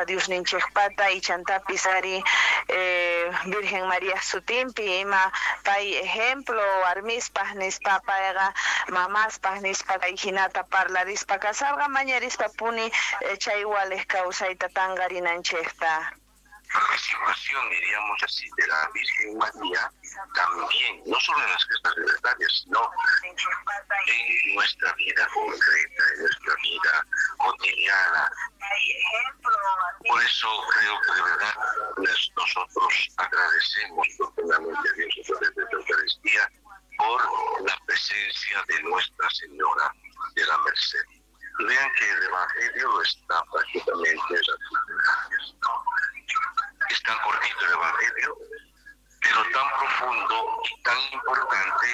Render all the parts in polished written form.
Diosninchikpata ichantapis ari Virgen María sutinpi ima pay ejemplo warmispaj nispa payqa mamaspaj nispa kay hinata parlarispa kasarqa mañarispa puni chay walej kawsayta tanqarinanchikta. Participación, diríamos así, de la Virgen María también, no solo en las gestas libertarias, sino en nuestra vida concreta, en nuestra vida cotidiana. Por eso creo que de verdad nosotros agradecemos profundamente a Dios a través de la Eucaristía por la presencia de Nuestra Señora de la Merced. Vean que el Evangelio lo está prácticamente. Es tan cortito el Evangelio, pero tan profundo y tan importante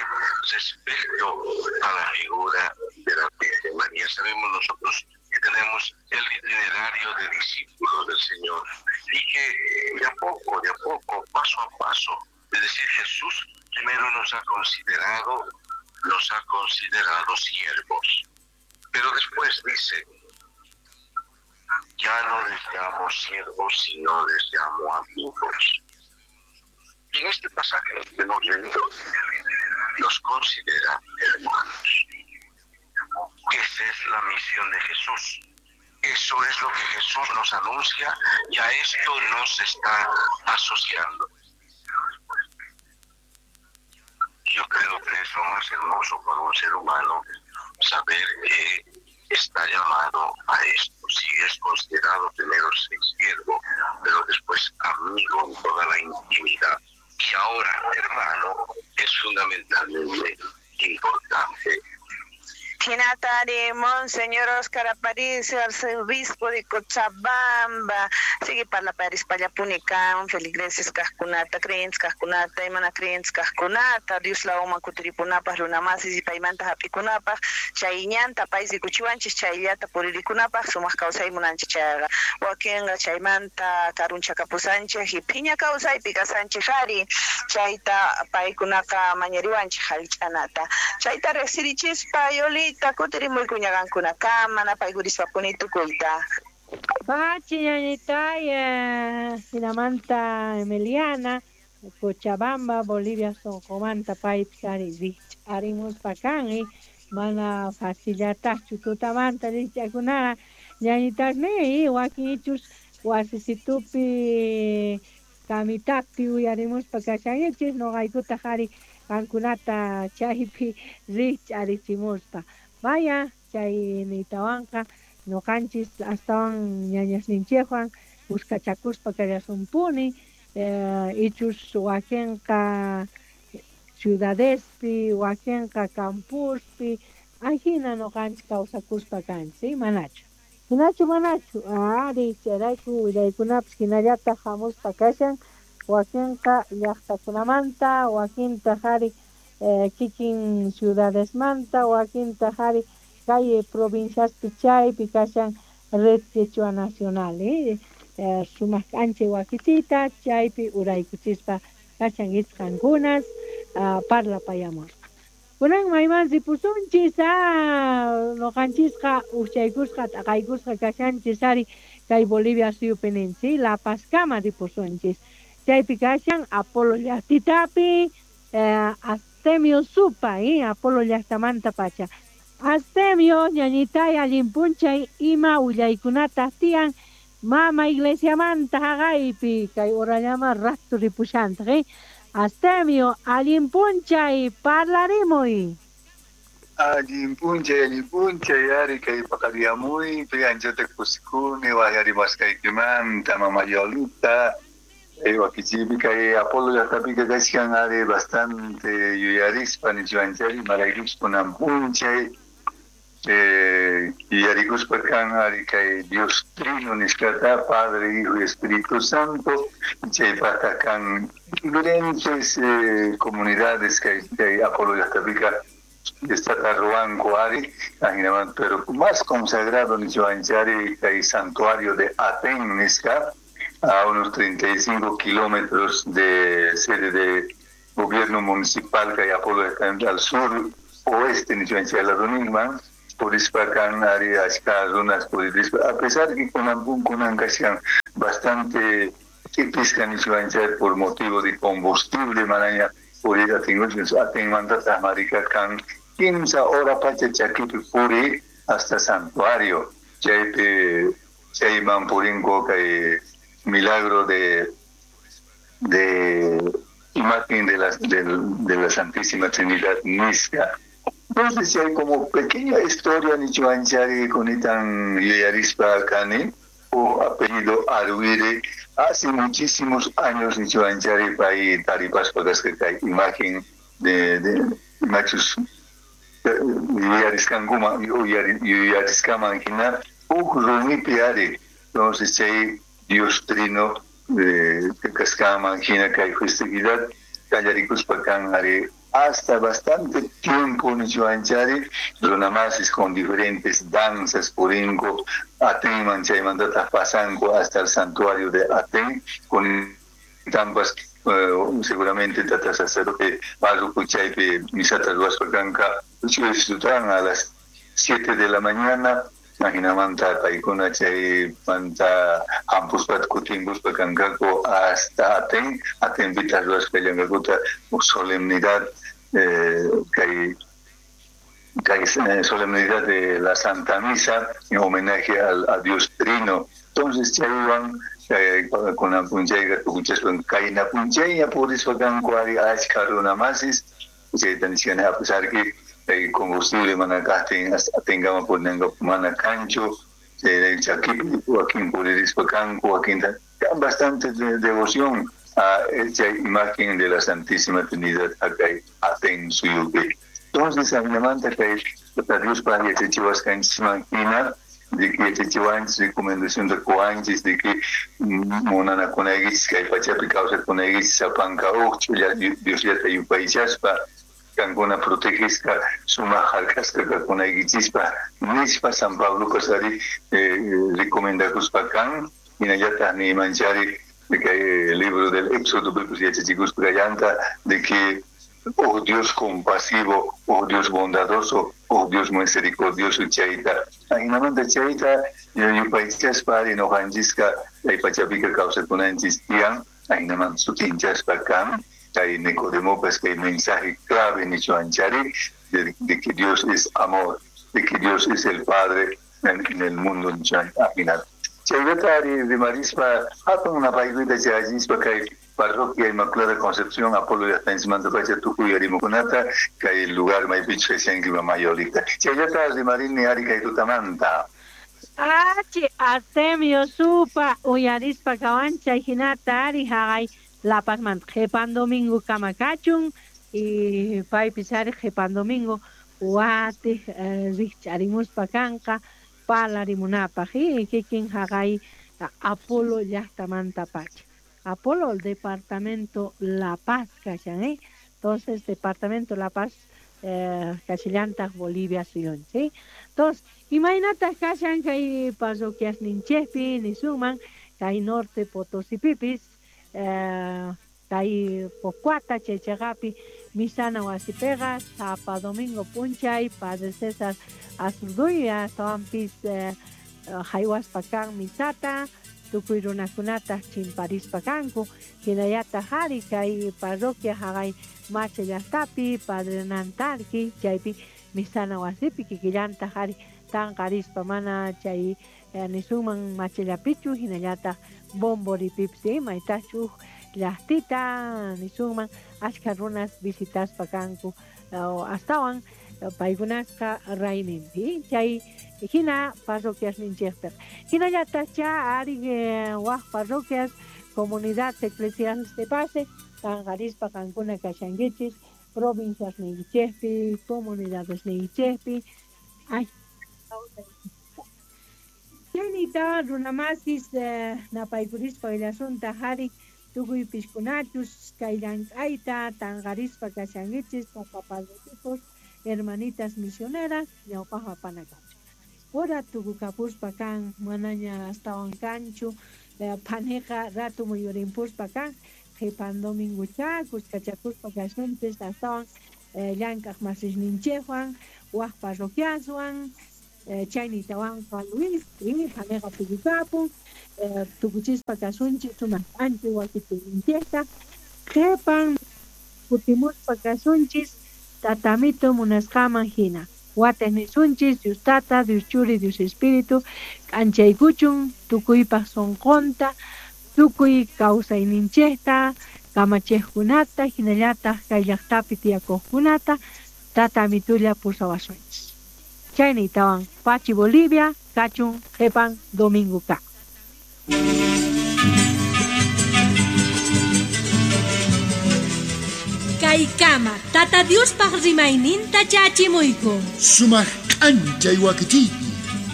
respecto a la figura de la Virgen María. Sabemos nosotros que tenemos el itinerario de discípulos del Señor y que de a poco, paso a paso, es decir, Jesús primero nos ha considerado siervos, pero después dice, ya no les llamo siervos, sino les llamo amigos. Y en este pasaje que hemos leído, los considera hermanos. Esa es la misión de Jesús. Eso es lo que Jesús nos anuncia y a esto nos está asociando. Yo creo que es lo más hermoso para un ser humano saber que está llamado a esto. Si es considerado primero siervo, pero después amigo en toda la intimidad. Y ahora, hermano, es fundamentalmente importante. Hinatari, Monseñor Oscar Aparicio, arzobispo de Cochabamba, sigue para París, Payapunica, feligreses kajkunata, creyentes kajkunata, imana creyentes kajkunata, Dios la oma kutiripunapaj, runamasis y paymanta hap'ikunapaj, chay ñanta pay rikuchiwanchis, chayllata puririkunapaj, sumaq kawsay munanchik chayqa, wakinqa chaymanta karunchakapusanchik y phiña kawsaypi kasanchik ari, chayta paykunaqa mañariwanchik hallch'anata, chayta riqsirichispa Yoli kutirimuykuñaqankunakama napaykurispa puni tukuyta. Pachi ñañitay, hinamanta Emiliana, Cochabamba, Bolivia, sonqomanta paypis ari rikch'arimuspa kan, mana facillataqchu tutamanta rikch'akunaqa ñañitasmi wakin ichus wasisitupi kamitapi uyarimuspa kashankichis noqaykutaq ari qankunata chaypi rikch'arichimuspa. Vaya, chay niytawanqa noqanchis astawan ñañasninchikwan kuskachakuspa kallasunpuni, ichus wakinqa ciudadespi, wakinqa campuspi, ajina noqanchis kawsakuspa kanchis, manachu. Hinachu manachu, ari chayrayku willaykunapis hinallataq hamuspa kashan, wakinqa llaqtakunamanta, wakintaq ari kikin ciudadesmanta, wakintaq ari kay provinciaspi chaypi kashan Red Quechua Nacional, sumaq k'anchay wakichiyta chaypi uraykuchispa kashan ichqankunas parlapayamusqa. Kunan mayman ripusunchis, noqanchisqa uchaykusqa t'aqaykusqa kashanchis ari kay Bolivia suyupi ninchis, La Pazkama ripusunchis. Chaypi kashan Apolo llaqtitapi, Astemio Supa, Apolo llaqtamanta pacha. Astemio ñañitay allin p'unchay ima willaykunata tiyan mama iglesiamanta haqaypi kay horallama rato ripushantaq, Astemio allin p'unchay parlarimuy. Allin p'unchay ari kay paqarimuypi anchata kusikuni waqyarimasqaykimanta mama Yolita. Wakichipi kay Apolo llaqtapika kashkan ari bastante yuyarispa nichiwanchari maraykuchus kunan p'unchay yuyarikuspa kan ari kay Dios Trino nisqata, Padre, Hijo y Espíritu Santo, chaypaqta kan diferentes comunidades kay Apolo llaqtapika está ruwanku ari, pero más consagrado nichiwanchari kay santuario de Aten nisqa, a unos 35 kilómetros de sede de gobierno municipal que hay Apolo al sur oeste, ni Purispa kan ari achka runas puririspa a pesar que kunan kashan bastante tipisqa nichuanchay por motivo de combustible manaña purir atinguchus atinmantataq marika kan 15 hora pacha chakipi puri hasta santuario chaypi chayman purinko kay milagro de imagen de la Santísima Trinidad nisqa. Entonces hay como pequeña historia nichuanchari kunitan yuyarispa kani o apellido Aruire hace muchísimos años nichuanchari pay taripaspa kasqa kay imagen de machus yuyariskankuman yuyariskaman hina huk rumipi ari. Entonces chay Dios Trino kasqanman hina kay festividad qallarikuspa kan ari hasta bastante tiempo nichuanchari runamasis con diferentes danzas purinko Atenman chaymantataq pasanku hasta el santuario de Aten con tampas seguramente tata sacerdote párroco chaypi misata ruwaspa kanka a las 7 de la mañana ajinamanta paykuna chaymanta hampuspa kutimpuspa kankaku hasta Aten Atenpitaq ruwaspa llankakuta solemnidad kay solemnidad de la Santa Misa en homenaje a Dios Trino. Entonces chaywan kunan punchayqa tukuchaspa kayna punchayña purispa kanku ari achka runamasis chayta nishkani a pesar que el combustible mana kaqtin Atenkama purinanka mana kanchu chakipi wakin puririspa kanku wakinta kan bastante devoción a esa imagen de la Santísima Trinidad acá Aten suyupi. Entonces ajinamanta kay Diospaj yachachiwasqanchisman hina de que yachachiwanchis recomendación de qowanchis de que munanakunaykichis kay pachapi kawsakunaykichis sapanka uq ch'ulla Diosllata yupaychaspa kankuna protegisqa sumaq hark'asqa kakunaykichispa nispa San Pablopas ari recomendakuspa kan hinallataq niymanchari kay libro del Éxodo pipis yachachikuspa kallanta de que oh Dios compasivo, oh Dios bondadoso, oh Dios misericordioso chayta. Ajinamanta chayta yupaychaspa ari noqanchisqa kay pachapika kawsakunanchis tiyan ajinamanta sutinchaspa kan kay Nicodemopas kay mensaje clave nichuanchari de que Dios es amor, de que Dios es el Padre en el mundo ajinata. Chayrata ari rimarispa hatun napaykuyta chayachispa kay Parroquia Inmaculada Concepción, Apolo llaqtanchismanta pacha tukuy arimukunata kay lugar maypichus kashanki mamayolita. Chayllata rimarini ari kay tutamanta. Achi Artemio supa uyarispa kawanchay hinata ari haqay La Pazmanta qhipan domingo kama kachun y paypis ari qhipan domingo watiq rikch'arimuspa kanqa parlarimunapaq y kikin haqay Apolo llaqtamanta pacha. Apolo, el departamento La Paz, kashan, ¿eh? Entonces, departamento La Paz, kashillantaq Bolivia suyunchik, ¿sí? Entonces, imaynataq kashan kay parroquias ninchikpi nisuman kay norte Potosipipis, kay Pocuata chaychaqapi misana wasipiqa sapa domingo p'unchay Padre César Azurduy astawanpis haywaspa kan misata tukuy runakunataq chimparispa kanku hinallataq ari kay parroquia haqay Macha llaqtapi Padre Nantarqui chaypi misana wasipi kikillantaq ari tanqarispa mana chay nisunman machallapichu hinallataq Bomboripipis maytachu huk llaqtita nisunman achka runas visitaspa kanku astawan paykunasqa rayminpi chay hina parroquias ninchikpiqa hinallataq cha ari waq parroquias comunidad eclesiales de base tanqarispa qankuna kashankichis provincias niykichikpi comunidades niykichikpi ay chaynita runamasis napaykurispa willasunta ari tukuy piskunachus kay llank'ayta tanqarispa kashankichis tata padrecitos hermanitas misioneras ñawpaq apanakachu ora tukukapuspa kan manaña astawan kanchu phaniqa ratu muyurimpuspa kan qhipan domingocha kuskachakuspa kasunchis astawan llank'aq masisninchikwan Waj parroquiaswan chaynitawanqa Luis janeqa tukukapun tukuchispa kasunchis sumaq k'anchay wakichiyninchikta qhipan kutimuspa kasunchis tatamito munasqaman hina. Watej nisunchis Dios Tata, Dios Churi, Dios Espíritu k'anchaykuchun tukuypaq sunqunta, tukuy kawsayninchikta, kamachiqkunata, hinallataq kay llaqtapi tiyakuqkunata tatamitulla pusawasunchis. Chaynitawan Pachi Bolivia, kachun qhipan domingo ka. Kaykama Tata Diospaq rimayninta chachimuyku. Sumaq k'anchay wakichiypi.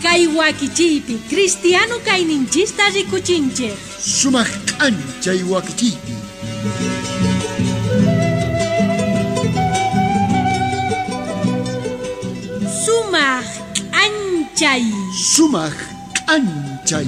Kay wakichiypi cristiano kayninchista rikuchinchik. Sumaq k'anchay wakichiypi. Sumaq k'anchay. Sumaq k'anchay.